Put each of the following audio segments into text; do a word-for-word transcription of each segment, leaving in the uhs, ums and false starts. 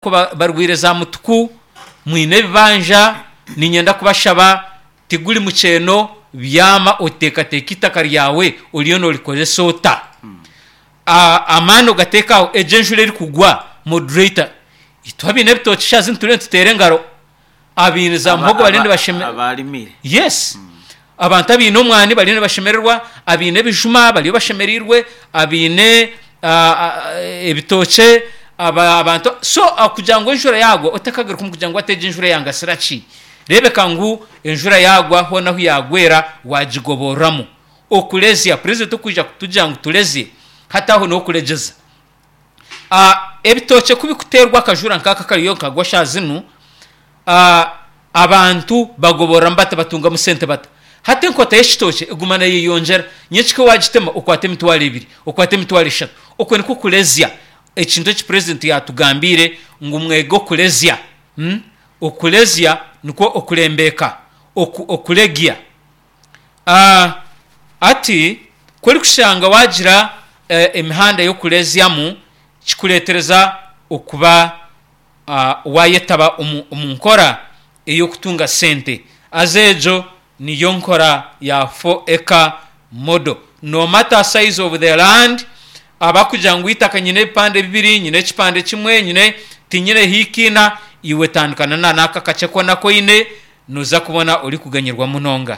Barwaire za mutuku, mwine ebibanja, niinyenda kubashaba tiguri mukyeeno, byama oteekateeke eitaka ryawe oriyo noorikoresa ota? Amaani ogateeke aho, egi enjura erikugwa moderator, itwe abaine ebitookye shaaha zinu turiyo nituteera engaro, abaine za muhogo bariyo nibashemererwa. Abarimire. Yes. Abantu abaine omwani bariyo nibashemererwa, abaine ebijuma bariyo bashemereirwe, abaine ebitookye, abantu so kugira ngu enjura yaagwa otakagaruka omu kugira ngu hati egi enjura yangasira ki? Reebeka ngu enjura yaagwa hoona ahu yaagwera waagigoborramu. Okurezya, purezidenti okwija kutugira ngu turezye, hati aho n'okuregyeza. Ebitookye ku birikuteerwa akajura nk'aka akariyo nikagwa shaaha zinu, abantu bagoborramu bata batungamu sente bata? Hati enkota y'ekitookye eguma neeyeyongyera, nyenkika waagitema okwata emitwaro ebiri, okwata emitwaro eshatu. Okwo nikwo kurezya, ekintu eki purezidenti yaatugambiire ngu mwege okurezya. Okurezya nikwo okurembeeka, okuregya. Hati ku orikushanga waagira emihanda y'okurezyamu, kikureetereza okuba waayetaba omu nkora ey'okutunga sente. Haza egyo niyo nkora ya four acre model. No matter size of the land, abarikugira ngu eitaka nyine ebipande bibiri, nyine ekipande kimwe, nyine tinyine hiika ina, iwe tandika na n'ako akakye koona aku oine, nooza kubona orikuganyirwa munonga.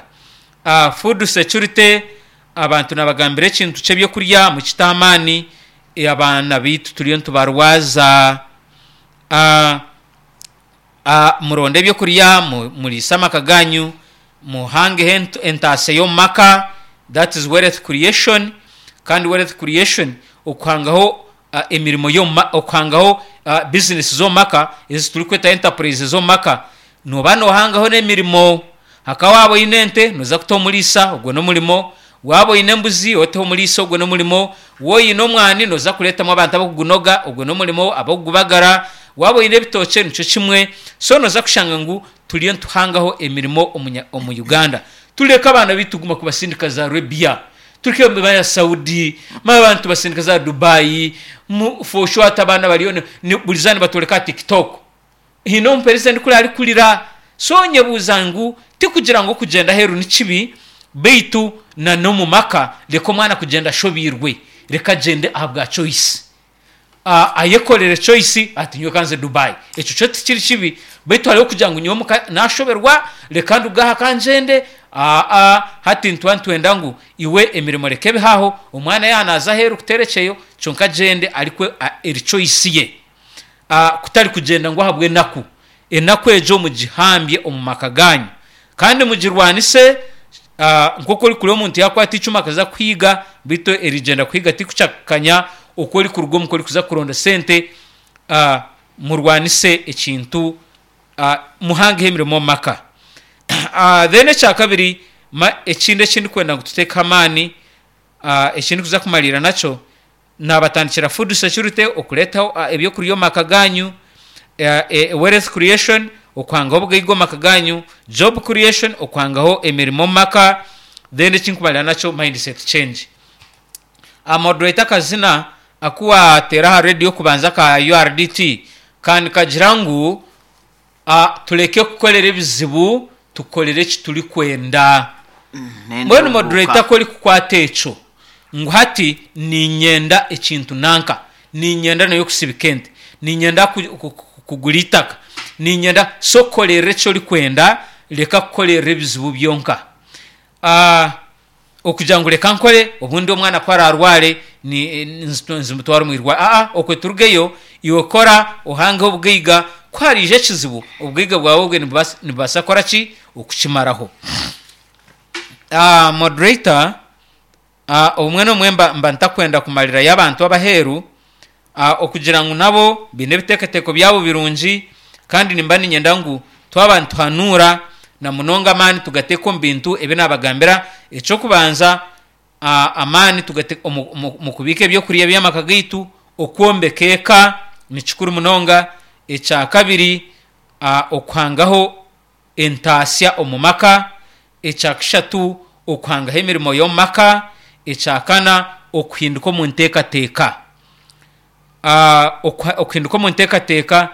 Food security, abantu naabagambira ekintu ky'ebyokurya mukite amaani, abaana baitu turiyo nitubarwaza. Muronde ebyokurya muriise amaka gaanyu, muhangeho entaasya y'omu maka, that is wealth creation, kandi wealth creation okuhangaho emirimo y'omu maka, okuhangaho bizinesi z'omu maka ezi turikweta enterprise z'omu maka, nooba noohangaho n'emirimo. Nka waaba oine ente nooza kuta omuriisa, ogwo n'omurimo, waaba oine embuzi oteho omuriisa ogwo n'omurimo, waaba oine omwani nooza kureetamu abantu abarikugunoga ogwo n'omurimo, abarikugubagara, waaba oine ebitookye nikyo kimwe. So nooza kushanga ngu turiyo nituhangaho emirimo omu Uganda. Tureke abaana baitu kuguma kubasindika za Arabia, tureke manya Saudi, manya abaana nitubasindika za Dubai, for sure hati abaana bariyo buri izooba nibatworeka aha TikTok. Haine omuperezidenti kuri arikurira. So nyebuuza ngu tikugira ngu okugyenda aheeru ni kibi, beitu na n'omu maka reka omwana kugyenda ashobeirwe, reka agyende ahabwa choice. Ayekorere choice ati nyowe ka nze Dubai. Ekyo kyo tikiri kibi beitu hariho okugira ngu nyowe omuka nashoberwa reka nduge aha ka ngyende, aa hati nituba nitwenda ngu iwe emirimo reka ebe aho, omwana yaaba naaza aheeru kuteera ekyeyo kyonka agyende arikwe eri choice ye. Kutari kugyenda ngu ahabw'enaku. Enaku egyo mugihambye omu maka gaanyu kandi mugirwanise nk'oku orikureeba omuntu yaakwata eicumu akaza kuhiiga beitu erigyenda kuhiiga tirikucakanya oku orikuruga omuka orikuza kuronda sente. Murwanise ekintu, muhangeho emirimo omu maka. Then ekyakabiri, ekindi eki ndikwenda ngu tuteekeho amaani, eki ndikuza kumariira nakyo, Naabatandikira food security, okureetaho ebyokurya omu maka gaanyu, wealth creation, okuhangaho obugaiga omu maka gaanyu, job creation, okuhangaho emirimo omu maka, then eki ndikumarira nakyo mindset change. Moderator akazina aku waateera aha radio okubanza aka U R D T ka nikagira ngu tureke kukorera ebizibu tukorere eki turikwenda. Mbwenu moderator ku orikukwata ekyo ngu hati niinyenda ekintu nanka, niinyenda nayo kusibika ente, niinyenda kugura eitaka, niinyenda, so korerera eki orikwenda reka kukorerera ebizibu byonka. Okugira ngu reka nkore obundi omwana ku araarware nzimutware omu irwariro. Aa okwe turugeyo, iwe kora ohangeho obugaiga, ku hariija ekizibu obugaiga bwawe obwe nibubaasa kukora ki? Okukimaraho. Moderator, obumwe n'obumwe mba ntakwenda kumarirayo abantu ab'aheeru okugira ngu nabo baine ebiteekateeko byabo birungi kandi nimba niinyenda ngu twaba nituhanuura na munonga amaani tugateeke omu bintu ebi naabagambira. Eky'okubanza, amaani tugate omu kubiika ebyokurya by'amaka gaitu, okwombeka eka ni kikuru munonga. Ekyakabiri, okuhangaho entaasya omu maka. Ekyakashatu, okuhangaho emirimo y'omu maka. Ekyakana, okuhinduka omu nteekateeka. Okuhinduka omu nteekateeka